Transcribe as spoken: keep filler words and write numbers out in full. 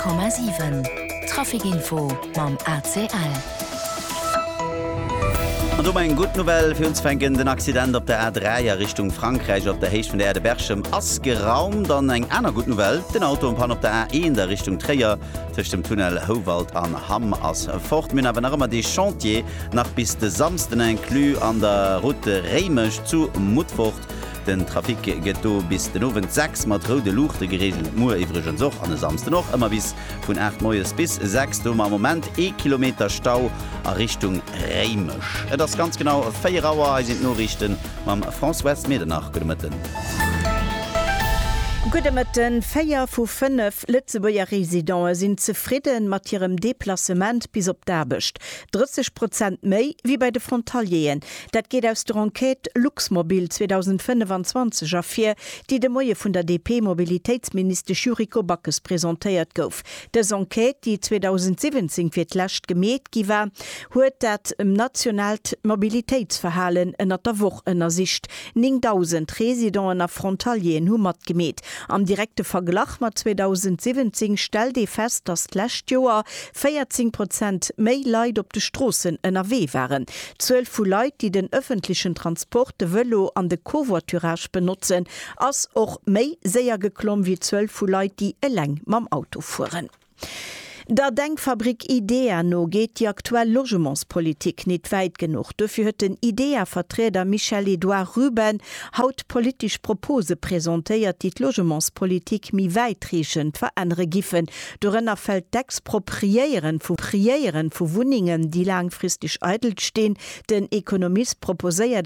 Komma siwen, Trafic Info mam A C L. An do eng gutt Nouvelle fir unzefänken, Den Accident op der A dräi a Richtung Frankräich op der Héicht vun der Aire de Berchem ass geraumt. An eng aner gutt Nouvelle, Den Auto en panne op der A eent a Richtung Tréier tëscht dem Tunnel Houwald an Hamm ass fort. Mir hunn awer nach ëmmer dee Chantier nach bis de Samsden inclus an der Route Réimech zu Mutfort. Den Trafic gëtt do bis den Owend sechs mat roude Luuchte gereegelt. Muer iwwregens och an e Samsden och ëmmer bis vun aacht moies bis sechs. Do am Moment ee Kilometer Stau a Richtung Réimech. Et ass ganz genau véier Auer, hei sinn d'Noriichten mam Françoise Medernach. Gudde Mëtten. Gudde Mëtten. Véier vu fënnef Lëtzebuerger Residente sinn zefridden mat hirem Deplacement bis op d'Aarbecht. drësseg Prozent méi wéi bei de Frontalieren. Dat geet aus der Enquête Luxmobil zweedausendfënnefanzwanzeg ervir, déi de Moie vun der D P-Mobilitéitsministesch Yuriko Backes presentéiert gouf. Dës Enquête, déi zweedausendsiwwenzéng fir d'lescht gemeet gi war, huet dat nationaalt Mobilitéitsverhalen ënnert der Woch ënnersicht. néngdausend Residenten a Frontalieren hu matgemeet. Am direkte Verglach mat zweedausendsiwwenzéng stellt ee fest, datt d'lescht Joer véierzéng Prozent méi Leit op de Stroossen ënnerwee waren. D'Zuel vu Leit, déi den ëffentlechen Transport, de Vëlo an de Covoiturage benotzen, ass och méi séier geklomm wéi d'Zuel vu Leit, déi eleng mam Auto fueren. Der Denkfabrik IDEA no geet déi aktuell Logementspolitik net wäit genuch. Dofir huet den IDEA-Vertrieder Michel-Edouard Ruben haut politesch Propose presentéiert, déi d'Logementspolitik méi wäitreechend verännere giffen. Dorënner fält d'Expropriéieren vu Priéieren vu Wunnengen, déi laangfristeg eidel stinn. Den Ekonomist proposéiert